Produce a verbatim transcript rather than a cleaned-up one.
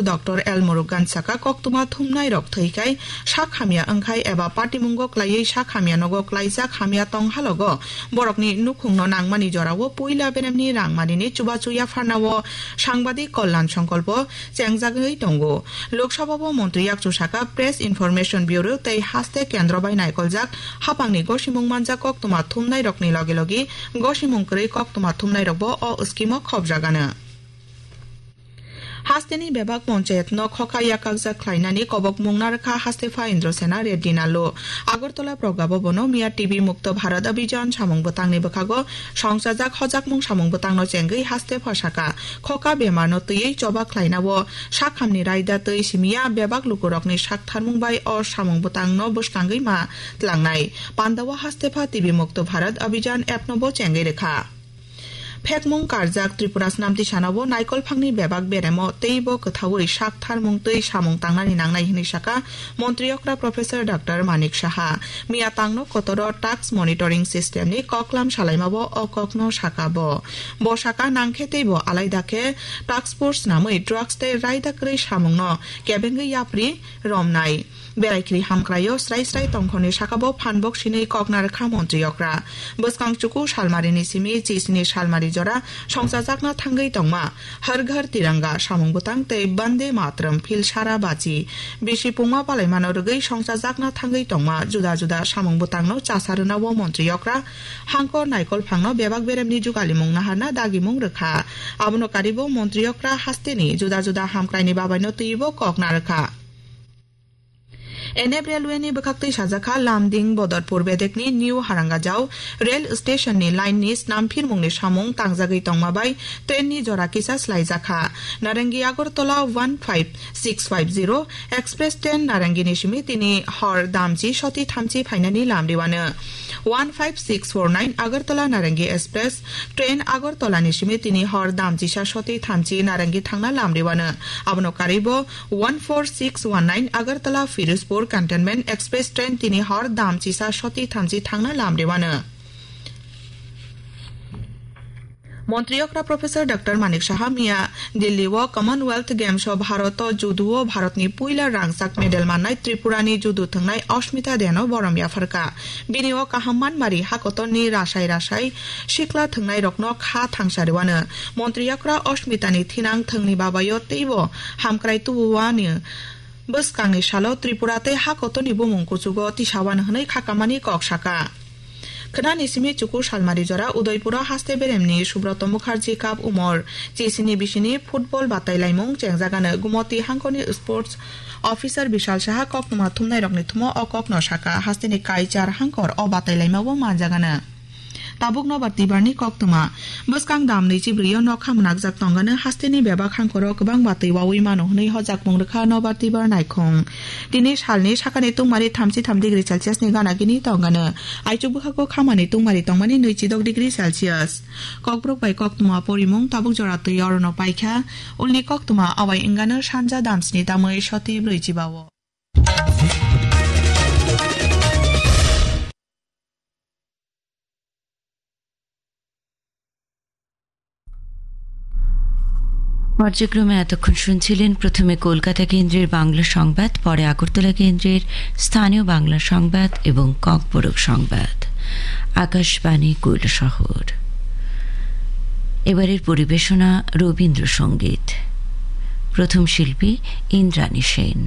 Doctor L Murugan saka, koktwma thumnai rok thwi khai sak hamya wngkhai eba patimungo klaiwi sak hamya nogo klaijak hamya tong halogo borokni nukhungno nangmani jorao puila beremni rangmanini chubachu yapharnao sangbadik Kalyan Sankalpo chengjagwi tongo. Lok Sabhao montri yakchu saka, Press Information Bureau tei haste kendro bai naikoljak haphangni gosimung manjak koktwma thumnai rokni logi logi gosimung kwrwi koktwma thumnai rokbo o scheme o khopjagano. Hasteni bebak ponchayat no khokha yakakjak khlainani kobok mungna rwkha haste pha Indrasena Reddy Nallu. Agartala Pragya Bhavan o miya T B Mukto Bharat Abhijan samung bwtangni bwkhago songchajak hojakmung samung bwtangno chengwi haste pha saka, khokha bemar no twiwi choba khlainao sakhamni raida twi simiya bebak lukurokni saktharmung bai o samung bwtangno bwskangwi ma tlangnai. Pandao haste pha T B Mukto Bharat Abhijan app no bo chengwi rwkha. Phekmung karjak Tripura snamtisanao naikolphangni bebak beremo teibo kwthaui saktharmung twi samung tangnani nangnai hwnwi saka montri okra Professor Doctor Manik Saha. Miya tangno kotoro tax monitoring system ni koklam salaimao o kokno saka bo. Bo saka nangkhe teibo alaida khe task force namwi drugs tei raida kwrwi samungno kebengwi yapri romnai. Belai khri hamkraio srai srai tongkhorni sakabo phanbok sinwi kokna rwkha montri okra. Bwskang chuku salmarini simi chisni salmari jora songchajakna thangwi tongma Har Ghar Tiranga samung bwtang tei Bande Mataram phil sara bachi bisi pungma palaimano rwgwi songchajakna thangwi tongma juda juda samung bwtangno chasa rwnao montri okra hangkor naikolphangno bebak beremni jugalimung naharna dagimung rwkha. Abono karibo montri okra hasteni juda juda hamkraini babaino twibo kokna rwkha. N F Railway ni bwkhaktwi sajakha Lumding Bodorpur bedekni New Harangajao rail station ni line ni snamphirmungni samung tangjagwi tongma bai train ni jora kisa slaijakha. Narangi Agartala one five six five zero express train Narangi ni simi tini hor damchi soti thamchi phainani lamriwano. One five six four nine Agartala Narangi express train Agartala ni simi tini hor damchisa soti thamchi Narangi thangna lamriwano. Abono karibo one four six one nine Agartala Firozpur Cantonment Express train tini hor dam chisa soti thamchi thangna lamriwano. Montri okra Professor Doctor Manik Saha miya Delhi o Commonwealth Games o Bharat o judo o Bharatni puila rangchak medal mannai Tripurani judo thwngnai Ashmita Deno borom yapharkha. Bini o kaham manmari hakotorni rasai rasai sikla thwngnairokno kha thangsa rwano. Montri okra Ashmitani thinang thwngni babayo teibo hamkrai tubuwani bwskangni salo Tripura tei hakotorni bumung kuchugo tisawano hwnwi khakamani kok saka. Khwnani simi chuku salmari jora Udaipuro haste beremni Subroto Mukherjee Cup umor chisini bisini football batailaimung chengjagano Gumoti hangkorni sports officer Bishal Saha koktwma thumnairokni thumo o kokno saka, hasteni kaichar hangkor o batailaimao manjagano. Tabuk nobar twibarni koktwma. Bwskang dam nwichi brwi o nokha mwnakjak tongano hasteni bebak hangkoro kwbangma twi wawi mano hwnwi hojakmung rwkha nobar twibar naikhung. Tini salni sakani tungmari thamchi tham degree Celsius ni gana gini tongano. Aichuk bwkhago khamani tungmari tongmani nwichi dok degree Celsius. Kokborok bai koktwma porimung tabuk jora twi orono paikha. Ulni koktwma awai wngano sanja damsni tamwi soti brwi chiba o. পর্যায়ক্রমে এতক্ষণ শুনছিলেন প্রথমে কলকাতা কেন্দ্রের বাংলা সংবাদ, পরে আগরতলা কেন্দ্রের স্থানীয় বাংলা সংবাদ এবং ককবরক সংবাদ। আকাশবাণী কৈলাসহর। এবারের পরিবেশনা রবীন্দ্রসঙ্গীত। প্রথম শিল্পী ইন্দ্রাণী সেন।